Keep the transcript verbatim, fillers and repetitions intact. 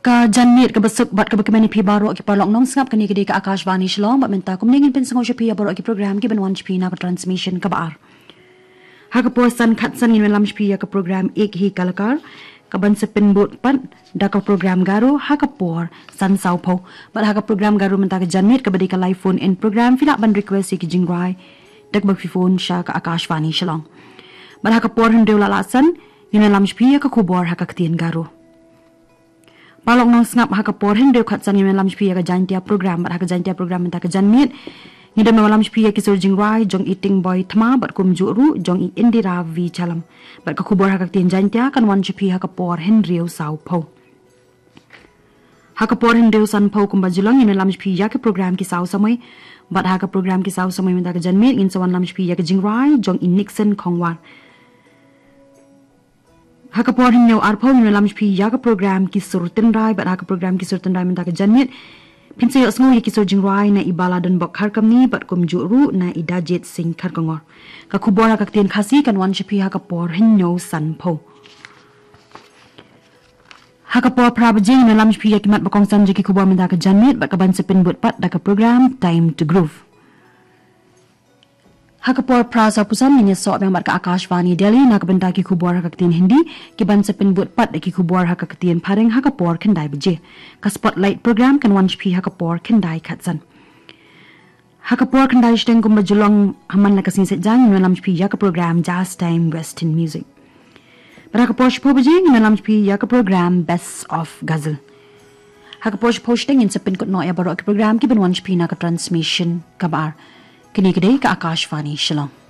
Ka janmiet kaba suk bad kaba kmen ïa phi baroh ki paralok nongsngap, kane ka dei ka Akashvani Shillong, bad mynta kumne ngin pynsngew sha phi ïa baroh ki program kiban wan sha phi na ka transmission kaba ar. Ha ka por san khatsan ngin ïalam sha phi ïa ka program Ek Hi Kalakar, kaban sa pynbud pat da ka program Garo ha ka por san sawphew. Bad ha ka program Garo mynta ka janmiet kaba dei ka live phone in program, phi lah ban request ïa ki jingrwai da kaba phi phone sha ka Akashvani Shillong. Bad ha ka por hynriew la lah san ngin ïalam sha phi ïa ka khubor ha ka ktien Garo. Paralok nongsngap, ha ka por hynriew khatsan ngin ïalam sha phi ïa ka Jaintia program, bad ha ka Jaintia program mynta ka janmiet ngin ïalam sha phi ïa ki sur jingrwai jong i Tingboi Thma bad kumjuh ruh jong i Indira V Chalam. Bad ka khubor ha ka ktien Jaintia kan wan sha phi ha ka por hynriew sawphew. Ha ka por hynriew sanphew kumba ju long ngin ïalam sha phi ïa ka program Ki Saw Samoi, bad ha ka program Ki Saw Samoi mynta ka janmiet ngin sa wanlam sha phi ïa ka jingrwai jong i Nixon Khongwar. Ha ka por hynñiew arphew ngin ïalam sha phi ïa ka program Ki Sur Tynrai, bad ha ka program Ki Sur Tynrai mynta ka janmiet phin sa ïohsngew ïa ki sur jingrwai na i Baladonbok Kharkamni bad kumjuh ruh na i Dajit Singh Kharkongor. Ka khubor ha ka ktien Khasi kan wan sha phi ha ka por hynñiew sanphew. Ha ka por phra baje ngin ïalam sha phi ïa ki mat ba kongsan jong ki khubor mynta ka janmiet, bad kaban sa pynbud pat da ka program Time to Groove. Ha ka por phra sawphew san ngin ïasoh biang bad ka Akashvani Delhi na ka bynta ki khubor ha ka ktien Hindi, kiban sa pynbud pat da ki khubor ha ka ktien Phareng ha ka por khyndai baje. Ka Spotlight program kan wan sha phi ha ka por khyndai khatsan. Ha ka por khyndai shiteng kumba ju long ha man la ka sngi Saitjaiñ ngin ïalam sha phi ïa ka program Jazz Time Western Music. Bad ha ka por shiphew baje ngin ïalam sha phi ïa ka program Best of Ghazal. Ha ka por shiphew shiteng ngin sa pynkut noh ïa baroh ki program kiban wan sha phi na ka transmission kaba ar. Kane ka dei ka Akashvani Shillong.